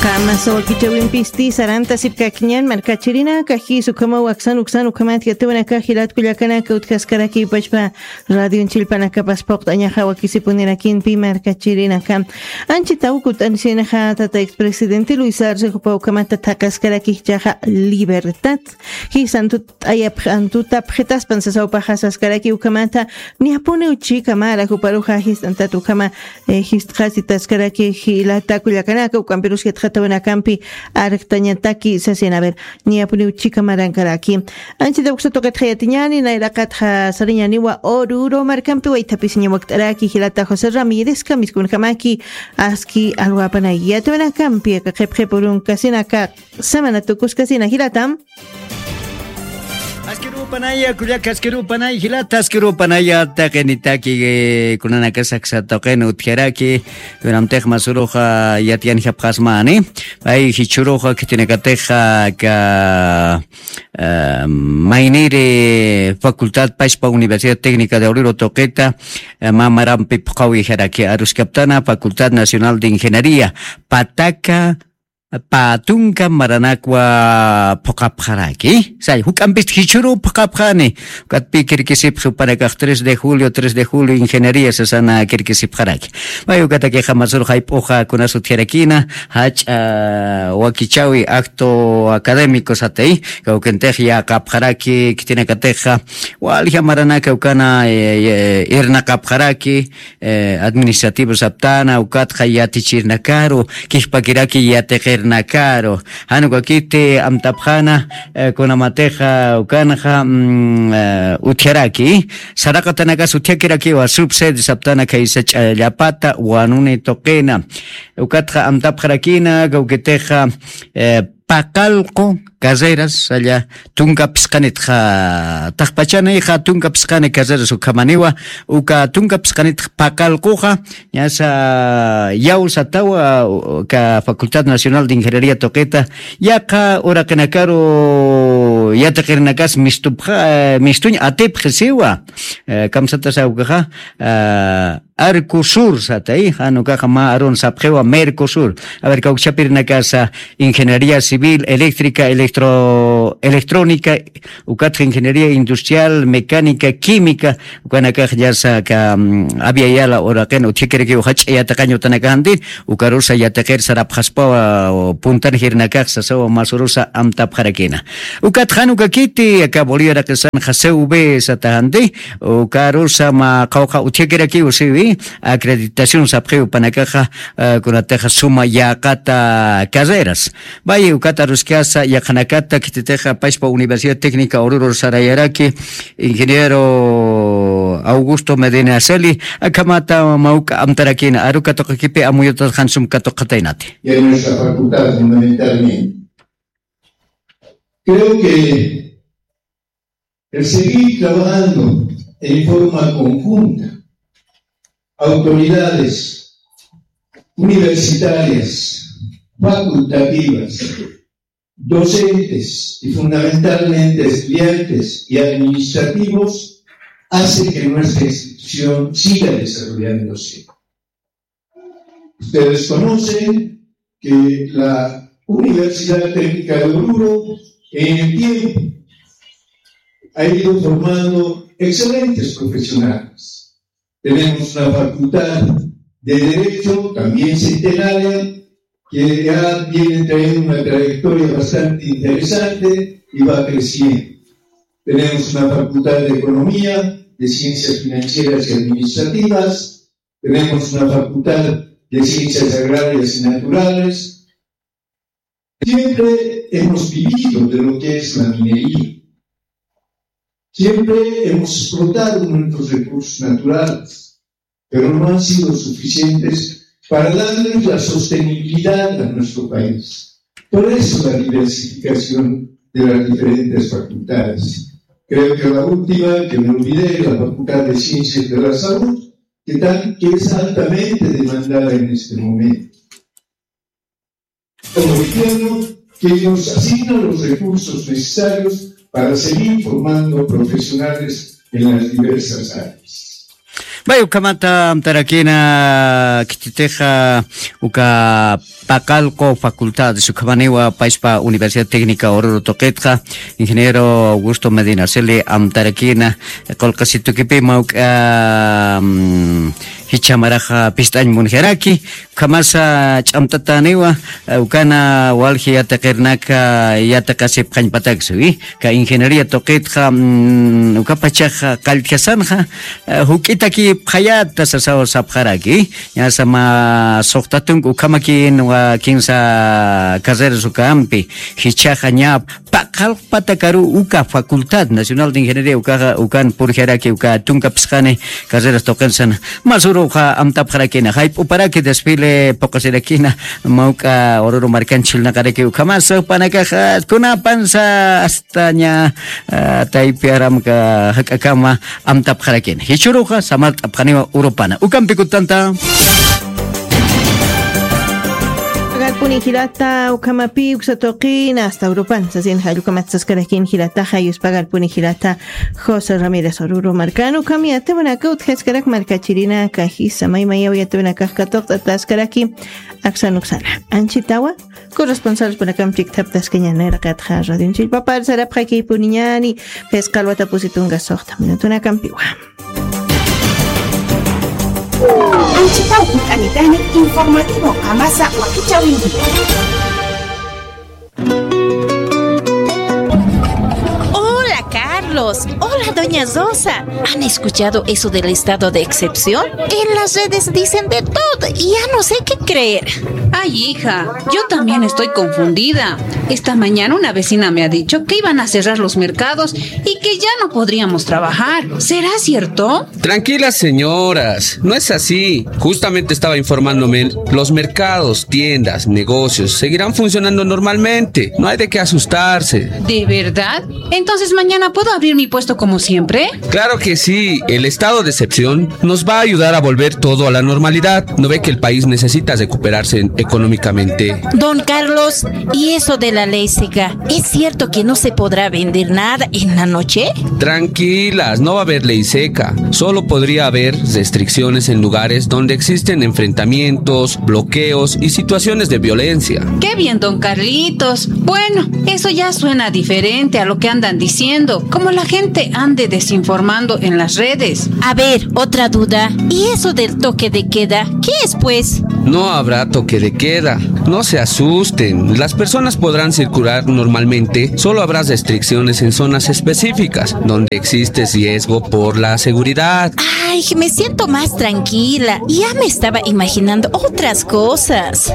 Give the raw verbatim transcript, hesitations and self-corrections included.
Qamasa wakichawimpisti sarantasipkakiñan markachirinaka jis ukhamaw aksan uksan ukhamat yatiwanaka jilat kullakanaka utjaskarakiw pachpa radion chillpanakapaspaq t'añaxa wakisipunirakinpi markachirinaka. Anchitaw kut'ansinxa tata expresidente Luis Arce jupa ukhamata thaqaskarakixchaxa libertad jisantu t'ayapxantutapxitaspan sasawpaxa saskaraki ukhamata. Niyapuniw chikamara juparuxa jist'antat ukhama jist'xasitaskaraki jilata kullakanaka ukampirus jitxatawanakampi arjtañataki sasina ver. Niyapuniw chikamarankaraki. Anchita uksa tuqitxa yatiñani nayraqatxa sariñaniwa oruro markampi waythapisiña wakt'araki jilata josé ramírez kamiskunkamaki aski alwapanay yatiwanakampi aka qhipqhipurunkasinaka. Semana tukuskasina jilatam. Askirupanaya kullaka askirupanay jilata askirupanaya taqinitaki kunanakasaksa tuqin utjaraki. Kunamtix masuruxa yatiyanjapxasmani pay jichuruxa khitinakatixa ka mayniri facultad pachpa universidad técnica de obrero tuqita mamarampi phuqawijaraki aruskaptana facultad nacional de ingeniería pataka pä tunka maranakwa phuqapxaraki. Say juk'ampist jichhüruw phuqapxani. Ukatpï kirkisipxi jupanakax tres de julio tres de julio ingeniería sasana kirkisipxaraki. May ukatakixa masur jayp'uxa kunas utjarakïna jach'a wakichäwi acto académico satay kawkintix yäqapxaraki khitinakatixa walja maranaka ukana irnaqapxaraki administrativo saptana ukatxa yatichirnakaru kijpakiraki yatiqirnakaru. Jan ukakiti amtapxana kunamatixa ukanxa utjaraki saraqatanakas utjakirakiwa subsede saptana khaysa ch'allapata wanuni tuqina. Ukatxa amtapxarakina kawkitixa paqallqu carreras salla tunka phisqanitxa taqpachanayxa tunka phisqani carreras ukhamaniwa uka tunka phisqanitxa paqallquxa ñasa yaw satawa ka facultad nacional de ingeniería tuqita yaqa uraqinakaru yatiqirinakas mistupxa mistuñ atipxi siwa. Kamsatasa ukaxa arcosur satay jan ukaxa mä arun sapxiwa mercosur. A ver kawkchapirinakasa ingeniería civil eléctrica electro electrónica ukatxa ingeniería industrial mecánica química ukanakax llasa ka aviayala uraqin utjikirakiw jach'a yatiqañ utanakaxanti ukarusa yatiqir sarapxaspawa puntan jirinakax sasawa masurusa amtapxarakina. Ukat jan ukakiti aka bolivia raqisanxa cv sataxanti ukarusa mä qawqha utjikirakiw siwi acreditación sapxiw panakaxa kunatixa suma yäqata carreras. Valle ukat aruskasa yaqhanakata khititixa pachpa universidad técnica ururur sarayaraki ingeniero augusto medina celi akhamata mawk'a amtarakina aru katuqakipi amuyutat jan sum katuqataynati. Y en nuestra facultad fundamentalmente creo que el seguir trabajando en forma conjunta autoridades universitarias, facultativas, docentes y fundamentalmente estudiantes y administrativos hace que nuestra institución siga desarrollándose. Ustedes conocen que la Universidad Técnica de Oruro en el tiempo ha ido formando excelentes profesionales. Tenemos una facultad de Derecho, también centenaria, que ya viene trayendo una trayectoria bastante interesante y va creciendo. Tenemos una facultad de Economía, de Ciencias Financieras y Administrativas, tenemos una facultad de Ciencias Agrarias y Naturales. Siempre hemos vivido de lo que es la minería. Siempre hemos explotado nuestros recursos naturales, pero no han sido suficientes para darles la sostenibilidad a nuestro país. Por eso la diversificación de las diferentes facultades. Creo que la última que me olvidé es la Facultad de Ciencias de la Salud, que, tan, que es altamente demandada en este momento. Como gobierno que nos asigna los recursos necesarios para seguir formando profesionales en las diversas áreas. Pay ukhamata amtarakina, khichhitixa uka Paqallqu facultad, ukhamaniwa payspa Universidad Técnica Oruro tuqitxa, ingeniero Augusto Medina Celi amtarakina, qullqisitukipï mawk'a, mm, jichha maraxa pist'añ munjaraki, ukhamasa ch'amtataniwa, eh, ukana walji yatiqirnaka yatiqasipxañpataksa, wi. Ka ingeniería tuqitxa, mm, ukapachaxa qalltjasanxa, eh, juk'itakipxayata sasaw sapxaraki. Ñasa mä suxta tunka ukhamakïnwa kinsa carreras ukampi, jichhaxa ñä Paqallqpatakaru uka Facultad Nacional de Ingeniería ukaxa, ukan purjaraki uka tunka phisqani carreras tuqinsan. Mä uruxa amtapxarakina, jayp'uparaki desfile phuqasirakina, mawk'a Oruro markan chhillnaqaraki ukhamas, panakaxa kunapansa hasta ñä, ah, taypi aramka jak'akama amtapxarakina. Jichhüruxa samart'apxaniwa urupana. Ukampi kutanta. Pagarpuni jilata, ukhamapï uksa tuqina, hasta urupan, sasin jall ukamat saskarakin jilataxa, yus pagarpuni jilata, José Ramírez Oruro markan, ukham yatiwanaka utjaskarak markachirinaka, jisa maymayaw yatiwanakax katuqt'ataskaraki, aksan uksana. Anchhitawa, corresponsalpunakam chikthaptaskañäni, nayraqatxa radionchillpapar sarapxakipuniñäni, phisqa alwatapusi tunka suxta minutunakampiwa. Anchhitaw hunt'anitani informativo qamasa wakichäwinki. Hola, Carlos. Hola, doña Rosa. ¿Han escuchado eso del estado de excepción? En las redes dicen de todo y ya no sé qué creer. Ay, hija, yo también estoy confundida. Esta mañana una vecina me ha dicho que iban a cerrar los mercados y que ya no podríamos trabajar. ¿Será cierto? Tranquilas, señoras, no es así. Justamente estaba informándome, los mercados, tiendas, negocios seguirán funcionando normalmente. No hay de qué asustarse. ¿De verdad? Entonces, ¿mañana puedo abrir mi puesto como siempre? Claro que sí, el estado de excepción nos va a ayudar a volver todo a la normalidad. ¿No ve que el país necesita recuperarse económicamente? Don Carlos, ¿y eso de la ley seca? ¿Es cierto que no se podrá vender nada en la noche? Tranquilas, no va a haber ley seca. Solo podría haber restricciones en lugares donde existen enfrentamientos, bloqueos y situaciones de violencia. Qué bien, don Carlitos. Bueno, eso ya suena diferente a lo que andan diciendo, como la gente ande desinformando en las redes. A ver, otra duda. ¿Y eso del toque de queda? ¿Qué es, pues? No habrá toque de queda. No se asusten. Las personas podrán circular normalmente. Solo habrá restricciones en zonas específicas donde existe riesgo por la seguridad. Ay, me siento más tranquila. Ya me estaba imaginando otras cosas.